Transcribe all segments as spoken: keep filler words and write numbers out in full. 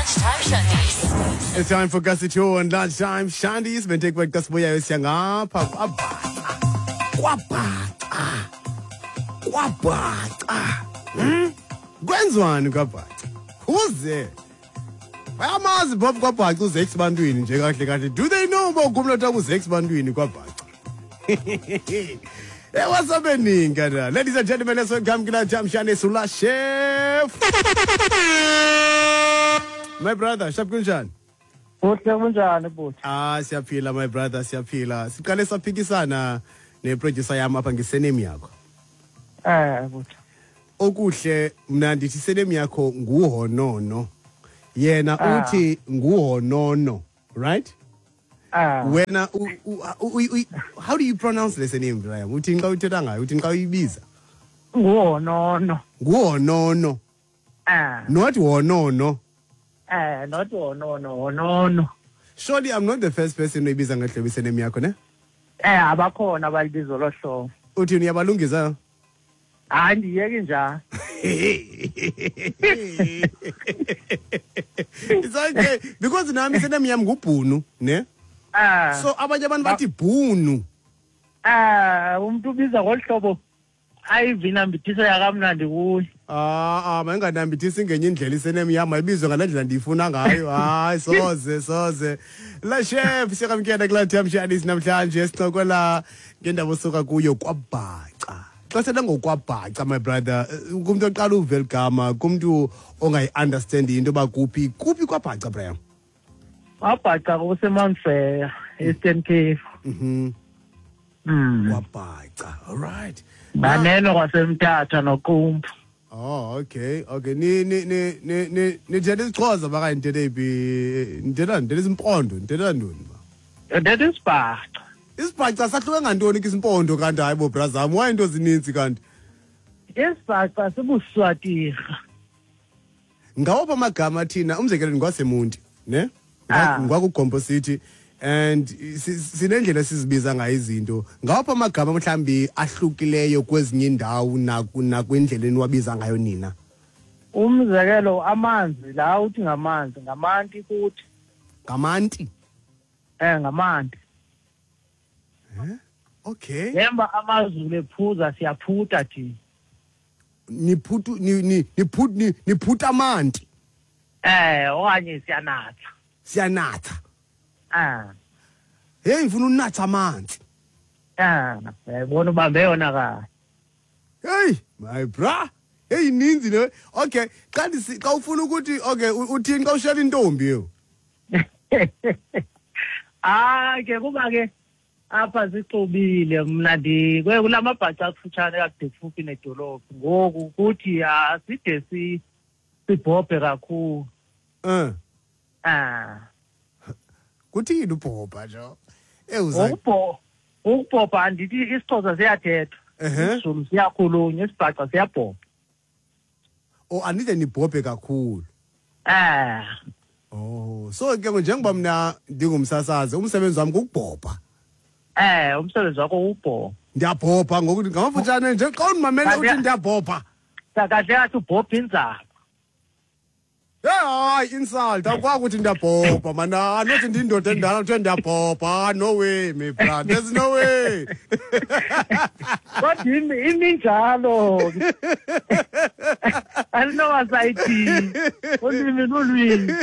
Lunchtime Shandies. It's time for Kasi two on Lunchtime Shandies. Benteke xa sibuyayo siya ngapha kwabhaca. Kwabhaca. Kwabhaca. Hmm? Kwenziwani kwabhaca? Who's Bayamazi Bob kwabhaca uZex bantwini nje kahle kahle. Do they know uba ukumlotha uZex bantwini kwabhaca? Hey, what's happening, Kada? Ladies and gentlemen, let's welcome Lunchtime Shandies Ula Chef. My brother, sharp kunjani? Kuhle, kunjani bhuti? Ah, siyaphila my brother, siyaphila. Siqale saphikisana neproducer yami apha ngesurname yakho. Eh bhuti. Okuhle mna ndithi surname yakho nguHonono. Yena Ah. uthi nguHonono, right? Ah. Wena u- u- u- u- how do you pronounce le surname, Brian? Uthi xa uthetha ngayo, uthi xa uyibiza? Nguhonono. Nguhonono, Ah. not Honono. Eh not honono, honono. Surely I'm not the first person oyibiza ngehlobo isurname yakho, ne? Eh abakhona abalibizo lohlobo. Uthi uyabalungisa? Hayi, ndiyeke njalo. It's okay because nami surname yami nguBhunu, ne? Ah. So abanye abantu bathi Bhunu. Ah, umuntu ubiza ngolhlobo ayivinambithiso yakamnandi kuye. Ah ah, mayinganambithisi ngenye indlela isurname yami, ayibizwe ngale ndlela ndiyifuna ngayo. Hayi, soze soze. La chef, siyakamkela kula time Shandies namhlanje sincokola ngendaba osuka kuyo kwabhaca. Xa sithetha ngokwabhaca, my brother, eh, kumntu oqala uva eli gama, kumntu ongayi-understand into yoba kuphi, kuphi kwabhaca, Brian? Wabhaca kuseMount Frere, Eastern Cape. Mhm. Mm. Kwabhaca. All right. Nganeno kwasemthatha noQumbu. Oh, okay. Okay. Ni ni ni ni ni nithetha isiXhosa baka nithetha iphi? Nithetha nithetha isimpondo, nithetha ntoni ba? That is bhaca. Isibhaca sahluke ngantoni ke isimpondo kanti? Hayi bo bra zam, why into zininzi kanti? Isibhaca sibuswatirha. Ngawaphi amagama thina, umzekelo ngwaseMonti, ne? Ah. NgwakuGompo City and si- sinendlela esizibiza ngayo izinto. Ngawaphi amagama mhlambi ahlukileyo kwezinye indawo naku nakwindlela eniwabiza ngayo nina? Umzekelo amanzi la uthi ngamanzi ngamanti kuthi. Ngamanti. Eh ngamanti. Okay. Ngemba amazulu ephuza siyaphuta thina. Niphutu ni ni niphut ni niphuta amanti. Eh okanye siyanatha. Siyanatha. Ah. Hey, ngifuna unatha amanzi. Ah, uyayibona ubambe yona kahle. Hey, my bra. Hey, ininzi le. Okay, xa ndisi xa ufuna ukuthi okay, u- uthini xa ushela intombi yo? Ah ke kuba ke apha sixubile, mna ndi kulamabhaca akufutshane kakude kufuphi nedolophu, ngoku kuthi aside si sibhobhe kakhulu. Eh, Ah. kuthini ubhobha nje? Eh uza Ukubho ukubhobha andithi isiXhosa siyathetha. Ehhe. IsiZulu siyakhulunywa, isibhaca siyabhobha. Oh, anide nibhobhe kakhulu. Ah. Oh, so ke njengoba mina ndingumsasazi, umsebenzi wami kukubhobha. Eh umsebenzi wakho ubhobha. Ndiyabhobha ngokuthi ngamafutshane nje xa undimamele uthi ndiyabhobha. Kahle kahle ubhobha inzaba. Hey, hayi, insult. Awukwazi ukuthi ndiyabhobha man. Anothi ndindoda endala kuthiwe ndiyabhobha. No way, my brother. There's no way. Kodwa imi iminjalo. Andinowasayithi. Ulwimi lulwimi.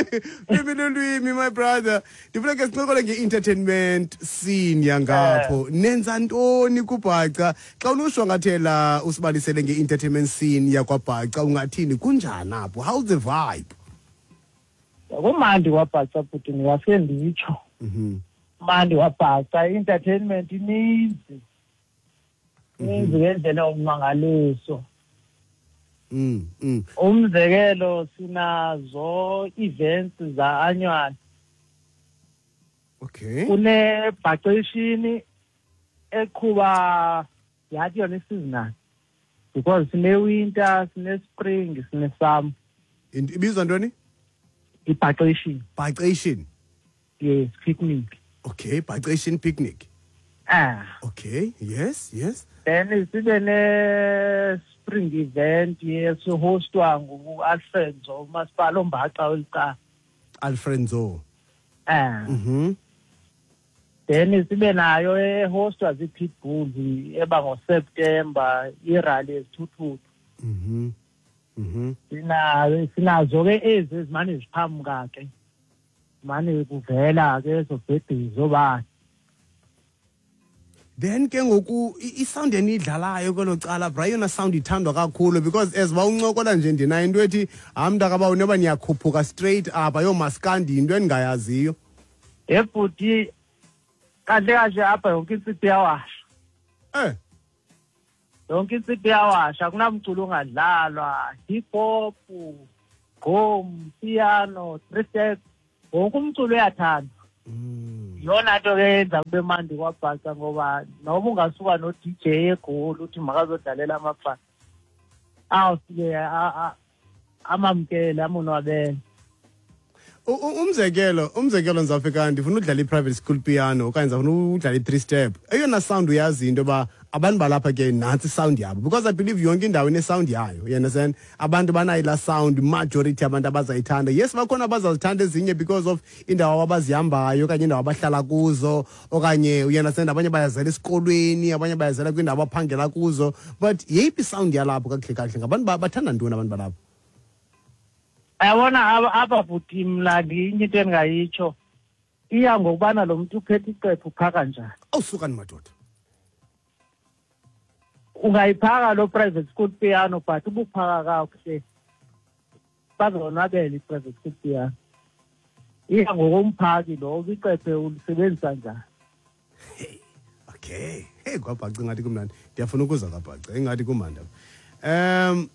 Lwimi lulwimi, my brother. Ndifuna ke sincokole nge-entertainment scene yangapho. Nenza ntoni kubhaca? Xa unoshwangathela usibalisele nge-entertainment scene yakwabhaca, ungathini, kunjani apho? How's the vibe? Kumandi kwabhaca bhuti, ndingafike nditsho. Mhm. Mandi kwabhaca, i-entertainment ininzi. Ininzi ngendlela yommangaliso. Mm. Mm. Umzekelo sinazo events za-annual. Okay. Kunebhaceshini eqhuba yathi yona i-seasonal because sine-winter, sine-spring, sine-summer. Int- Ibizwa ntoni? Ibhaceshini. Bhaceshini. Yes, picnic. Okay, bhaceshini picnic. Ah. Okay, yes, yes. Then sibe ne-spring event yesihostwa ngu-Alfred umasipala ombaxa welicala. Alfred Nzo. Eh. Mhm. Then sibe nayo ehostwa zii-pitbulls eba ngoSeptember, irally ezithuthuthu. Mhm. Mhm. Sinayo sinazo ke ezi ezimane ziphamuka ke. Mane kuvela ke ezobhebhizo zobani. Then ke ngoku i- isound eniyidlalayo kwelo cala, bra, eyona sound ithandwa kakhulu, because as uba uncokola nje ndinayo into ethi hayi mntakabawo noba niyakhuphuka straight apha yoomaskandi, yinto endingayaziyo. Ebhuti, kahle kahle apha yonke insipho iyawasha. Eh. Yonke insipho iyawasha, akunamculo ongadlalwa, hip hop, gqom, piano, three steps, wonke umculo uyathandwa. Mm. Yona nto ke yenza kube mandi kwaBhaca, ngoba noma ungasuka no-D J eGoli uthi makazodlalela amabhaca, awufike amamkele, amonwabele. U- u- umzekelo umzekelo ndizawufika ndifuna udlala i-private school piano okanye ndizawufuna udlala i-three step, eyona sound uyazi into yoba abantu balapha ke nantsi isound yabo, because I believe yonke indawo inesound yayo, you understand? Abantu banayo laa sound, majority abantu abazayithanda. Yes, bakhona abazazithanda ezinye because of indawo abazihambayo okanye indawo abahlala kuzo okanye, you understand, abanye bayazela esikolweni, abanye bayazela kwiindawo abaphangela kuzo, but yeyiphi isound yalapho kakuhle kakuhle? Ngabantu ba- bathanda ntoni abantu balapho? Yabona apha apha bhuti, mna ndinye into endingayitsho, iya ngokubana lo mntu uphethe icephu uphaka njani. Awusukani madoda. Ungayiphaka lo private school piano, but ubuphaka kakuhle bazonwabela i-private school piano. Iya ngokomphaki lo, icephe ulisebenzisa njani. Okay, hey, kwaBhaca ingathi kumnandi, ndiyafuna ukuza kwaBhaca, ingathi kumandi apha. um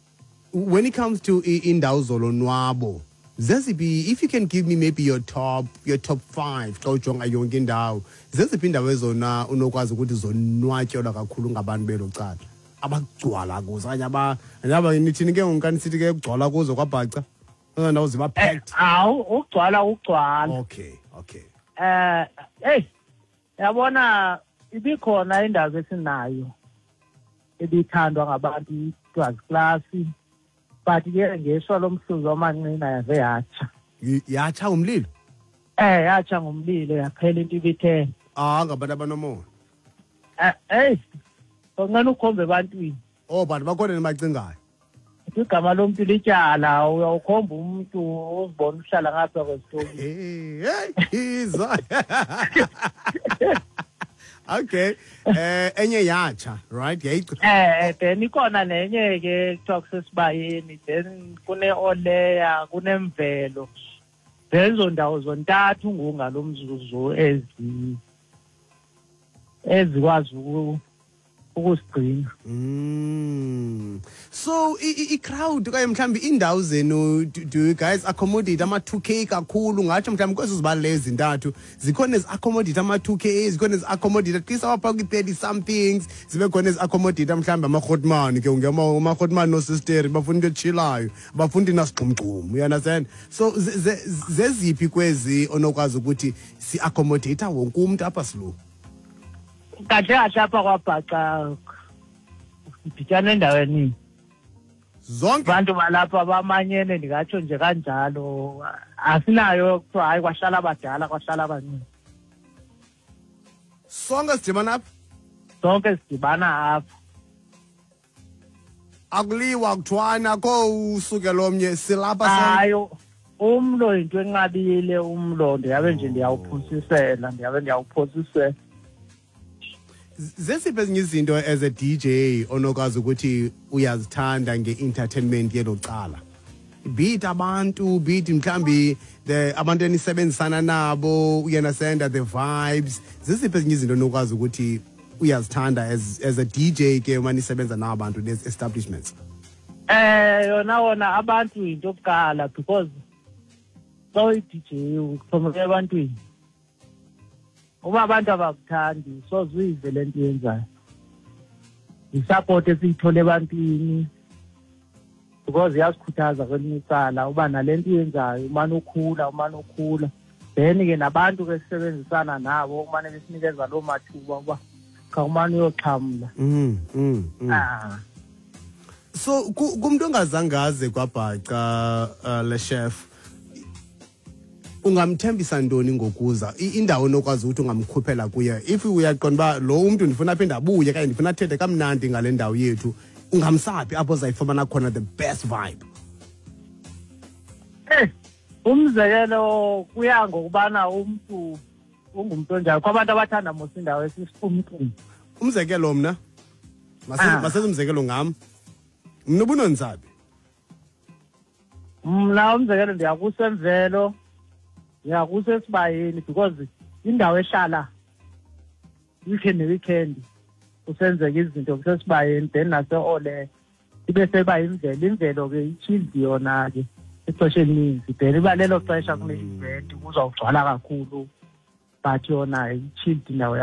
when it comes to i- indawo zolonwabo, zeziphi, if you can give me maybe your top your top five, xa ujonga yonke indawo, zeziphi indawo ezona unokwazi ukuthi zonwatyelwa kakhulu ngabantu belo cala, abagcwala kuzo okanye aba aba nithini ke ngoku kanisithi ke kugcwala kuzo kwaBhaca, ezona ndawo ziba Eh, packed? Hawu, ugcwala ugcwala. okay okay Eh, hey, yabona ibikhona indawo esinayo ebithandwa ngabantu, itwazi class, but ke ngeshwa lomhluzi wamanqina yaze yatsha. Y- yatsha umlilo? Eh, yatsha ngomlilo, yaphela into ibithele. Ah, ngabantu abanomona. Eh, hey, onqena ukhombe ebantwini. Oh, bantu bakhona nibacingayo. Igama lomntu lityala, uyawukhomba umntu uzibona uhlala ngapha kwesitoki. Hey, hey, iza. Okay. Eh enye yatsha, right? Yayic Eh, then ikhona nenye ke kuthiwa kusesibayeni, then kune-oleya, kunemvelo, zezo ndawo zontathu ngungalo mzuzu ezi ezikwazi uku- ukusigcina. Mm. So i i- i-crowd okanye mhlawumbi iindawo zenu, do, do you guys accommodate ama two K kakhulu? Ngatsho mhlawumbi kwezo zibalule ezintathu, zikhona ezi-accommodate ama two K, zikhona ezi-accommodate at least abapha kwi-thirty somethings, zibe khona ezi-accommodate mhlawumbi amarhotmani ke ungema amarhotmani noosisteri bafuna into etshilayo, bafuna into inasigqumgqum, you understand? So ze- ze- zeziphi kwezi onokwazi ukuthi si-accommodate wonke umntu apha silu? Kahle kahle apha kwaBhaca siditshana endaweni. Zonke. Abantu balapha bamanyene, ndingatsho nje kanjalo, asinayo kuthiwa hayi kwahlala abadala, kwahlala abancinci. Sonke sidibana apha. Sonke sidibana apha. Akuliwa, kuthwana akho usukelo omnye, silapha sonke. Hayi, umlo yinto enqabile, umlo ndiyabe nje ndiyawuphosisela, ndiyabe ndiyawuphosisela. Zesiphi ezinye izinto as a D J onokwazi ukuthi uyazithanda nge-entertainment yelo cala, be it abantu, be it mhlambi the abantu enisebenzisana nabo, uyanasenda the vibes, zeziphi ezinye izinto onokwazi ukuthi uyazithanda as, as a D J ke uma nisebenza nabantu lezi establishments? Eh, yona wona abantu yinto yokuqala, because xa uyi-D J uxhomeke ebantwini. Uba abantu abakuthandi, soze uyive le nto uyenzayo. Yisupport esiyithole ebantwini, because iyasikhuthaza kwelinye icala uba nale nto uyenzayo umane ukhula, umane ukhula. Then ke nabantu ke sisebenzisana nabo umane besinikeza loo mathuba uba khawumane uyoxhamla. mm, mm, mm. Ah. So ku- kumntu ongazange aze kwaBhaca, uh, le chef, Ungamthembisa ntoni ngokuza? I- indawo onokwazi ukuthi ungamkhuphela kuye if uyaqonda uba lo umntu ndifuna aphinde abuye kanye ndifuna athethe kamnandi ngale ndawo yethu, ungamsaphi apho uzayifumana khona the best vibe? Eh, umzekelo kuya ngokubana umntu ungumntu onjani. Kho abantu abathanda mos indawo esisiqumqum. Umzekelo mna, Ah. masenze umzekelo ngam mna, ubunonzabi. Mna umzekelo ndiyakusemvelo, ndiyakusesibayeni, because indawo ehlala weekend ne-weekend kusenzeka izinto kusesibayeni, then nase-ole ibe seba yimvelo. Imvelo ke i-chilled yona ke ixesha elininzi, then iba lelo xesha kune-event kuzawugcwala kakhulu, but yona i-chilled indawo.